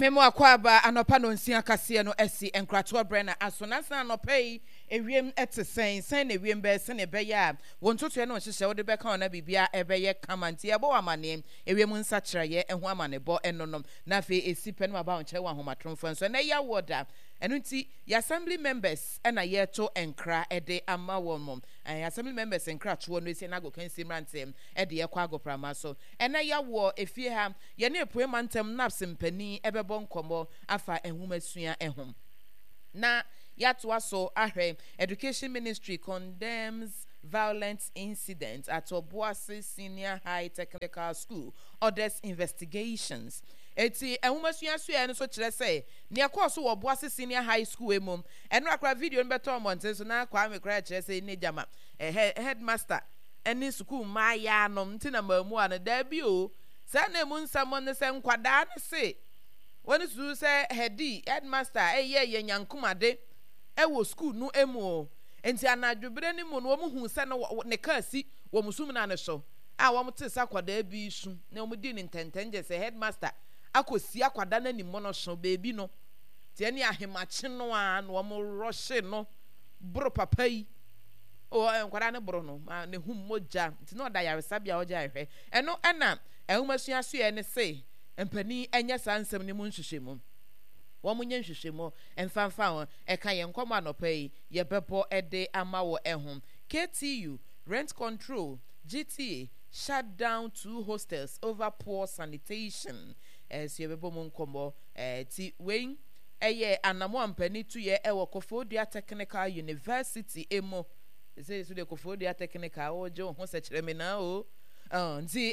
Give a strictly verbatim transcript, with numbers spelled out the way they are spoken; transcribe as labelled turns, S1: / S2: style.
S1: Memo akɔ anɔpa no nsia kaseɛ no asi nkratoɔ brɛ na aso nansa anɔpa yi ewiem te sɛn sɛn na ewiem bɛyɛ sɛnea ɛbɛyɛ a wɔn ntotoɛ no nhyehyɛ wode bɛka wɔn na biribia ɛbɛyɛ kama. Nti yɛbɔ wɔ amanneɛ ewiem nsakyerɛeɛ ho amanebɔ ɛno nom na afei esi pɛ no aba wɔn nkyɛn wɔ ahomatoromfoɔ nso. Ɛnɛ yɛ awɔ da, ɛno nti yɛ assembly members ɛna yɛto nkra ɛde ama wɔn mo. Ɛɛ assembly members nkratoɔ no esi ɛna agokansi mmeranteɛ ɛde yɛkɔ agoprama so. Ɛnɛ yɛawɔ efie ha, yɛne epue mantam NAPS mpanin ɛbɛbɔ nkɔmmɔ afa nhomasua ɛho na yɛatoa so ahwɛ. Education Ministry condemns violent incident at Obuasi Senior High Technical School, orders investigations. Eti nhomasua sua no nso kyerɛ sɛ nea ɛkɔɔ so wɔ Obuasi Senior High School mu ɛno akora video no bɛtɔ mmɔnten so na Kwame koraa kyerɛ sɛ ne gyama ɛhɛ headmaster ɛne sukuu mmaayaa nom nti na maamu a no daabi o. Saa na emu nsɛm ne sɛ nkwadaa ne se wɔn susu sɛ headi headmaster ɛyɛ yɛ nyankomade ɛwɔ sukuu no mu o. Nti anadwobere no mu no, wɔn hu sɛ no ne kaa si wɔn sumina no so a wɔn te sɛ akwadaa bi su na wɔn di ne ntɛntɛn gye sɛ headmaster akɔsi akwadaa n'anim no so beebi no tie ne ahemakye no a na wɔn rɔhye no boro papa yi o. Nkwadaa no boro no ma ne ho mogya nti na ɔda yaresabea a ɔgye ahwɛ. Ɛno ɛna nhomasua soɛ ne se mpanin nyɛ saa nsɛm no mu nhwehwɛmu, wɔn nyɛ nhwehwɛmu mfamfa ho. Ɛka yɛn nkɔmɔ anɔpa yi yɛbɛbɔ ɛde ama wɔ ɛho. K T U rent control, G T A shut down two hostels over poor sanitation. Ɛso yɛbɛbɔ mu nkɔmɔ. ɛɛ ti wei ɛyɛ anamo a mpanin tuyɛ ɛwɔ Koforidua Technical University emu sɛ so de Koforidua Technical wɔgye wɔn ho sɛ kyerɛ me na o nti.